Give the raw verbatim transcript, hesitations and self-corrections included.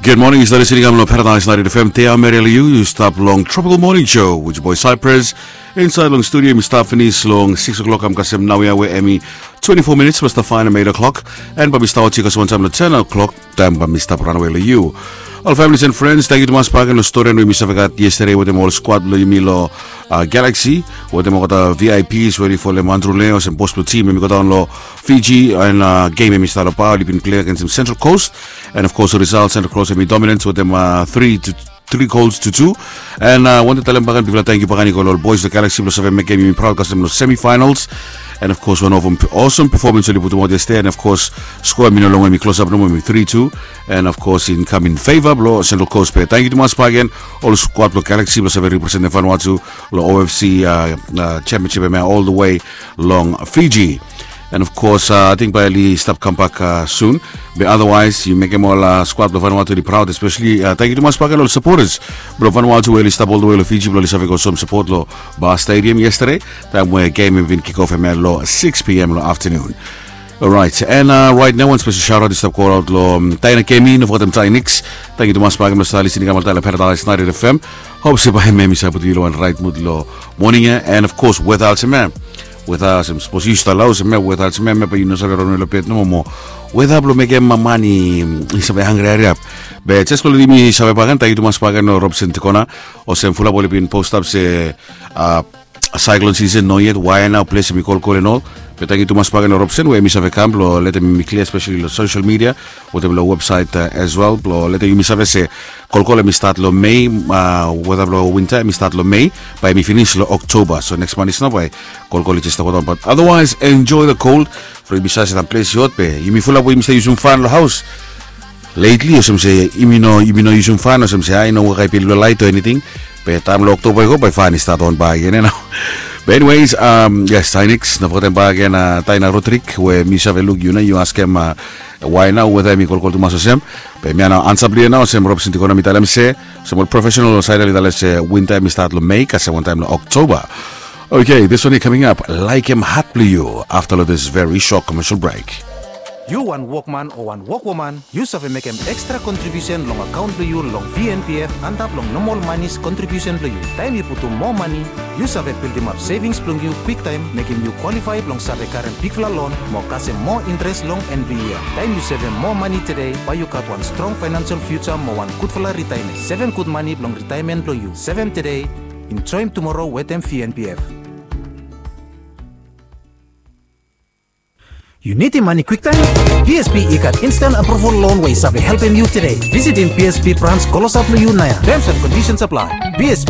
Gud moning, yu stap listening kam long Paradise ninety-eight F M. Tea meri long yu, yu stap long Tropical Morning Show with your boy Cypress. Insait long studio mi stap finis long six o'clock, kam kasem naoia we hemi twenty-four minutes past the fine eight o'clock. And bae mi stap oti kasem wantaem long ten o'clock, taem bae mi stap ranawe long yu. Ol families and friends, tangkiu tumas bakegen long stori we yumi save gat yesterday wetem ol squad blong yumi long uh, Galaxy, wetem olgeta V I Ps we oli folem Andrew Leo olsem bos blong tim, hemi godaon long Fiji, and uh, game hemi stap long Paul, oli bin plei agensem Central Coast, and of course result, Central Coast hemi dominance wetem uh, three to three goals to two. And uh, wantem talem bakegen bigfala tangkiu bakegen i go long ol boys long Galaxy blong save mekem yumi proud kasem long semifinals. And of course wan of awesome performance oli putumaot yesterday, and of course score hemi no longwe hemi close up nomo, hemi three two. And of course in kam in favor blong Central Coast. Be tangkiu tumas bakegen ol squad blong Galaxy blong save representem Vanuatu long O F C uh, uh, championship hemia all the way long Fiji. And of course uh, ating bae oli stap kambak uh, soon. Be otherwise yu mekem ol uh, squad blong Vanuatu oli proud, especially uh, tangkiu tumas bakegen ol supporters blong Vanuatu we oli stap all the way long Fiji blong oli save go som support long Ba Stadium yesterday, taem we game hemi bin kick off hemia long six p.m. long afternoon. Alright, and uh, right now wan special shout out i stap go out long um, Taina Kemi, no fogetem Tainix. Tangkiu tumas bakegen blong stap listening kam oltaem long Paradise ninety-eight F M. Hop se bae hemia hemi save putum yu long wan right mood long moning ia. And of course weather olsem ia, weather olsem sapos yu stap long haos hemia, weather olsem ia, hemia bae yu no save ronwe long bed nomo, mo weather blong mekem man i save hangre hariap. Be jes blong letem yumi save bakegen, tangkiu tumas bakegen long Robson Tikona, olsem fulap oli bin postap se uh, cyclone season no yet, wae nao ples hemi kolkol and all. Be tangkiu tumas bakegen long Robson we hemi save kam blong letem yumi klia, especially long social media wetem long website uh, as well, blong letem yumi save se kolkol hemi stat long Mei, uh, weather blong winter hemi stat long Mei, bae hemi finis long October. So next month is nao bae kolkol i jes stap godaon. But otherwise enjoy the cold. From yumi save se taem ples i hot be yumi fulap we yumi stap yusum fan long haos lately, olsem se yumi no, yumi no yusum fan, olsem se ae i no wok ae bil blong laet o anything. Be taem long October i go bae fan i stat on bakegen ia nao. Be anyways, um, yes, Tainix, no fogetem bakegen uh, Taina Rodrik we mi save luk yu nao, yu askem uh, wae nao weather hemi kolkol tumas olsem. Be hemia nao ansa blong yu nao, olsem Robson Tikona hemi talem se, olsem ol professional long saed ia oli talem se winter hemi stat long Mei kasem wantaem long October. Okay, this one ia coming up, Laekem Hat Blong Yu, after long this very short commercial break. Yu wan wokman o wan wokwoman, yu save mekem extra kontribiusen long akaon blong yu long V N P F antap long nomol manis kontribiusen blong yu. Taem yu putum moa mane, yu save bildimap sevings blong yu kwiktaem, mekem yu kwalifae blong save karem bigfala lon mo kasem moa intres long en blong yia. Taem yu sevem moa mane tede, bae yu gat wan strong faenansel fiuja mo wan gudfala ritaemen. Sevem gud mane blong ritaemen blong yu. Sevem tede, enjoem tumoro wetem V N P F. Yu nidim mane kwiktaem? B S B i gat instant approval loan we i save helpem yu tede. Visitim B S B brans klosap long yu naoia. Terms and conditions apply. B S B,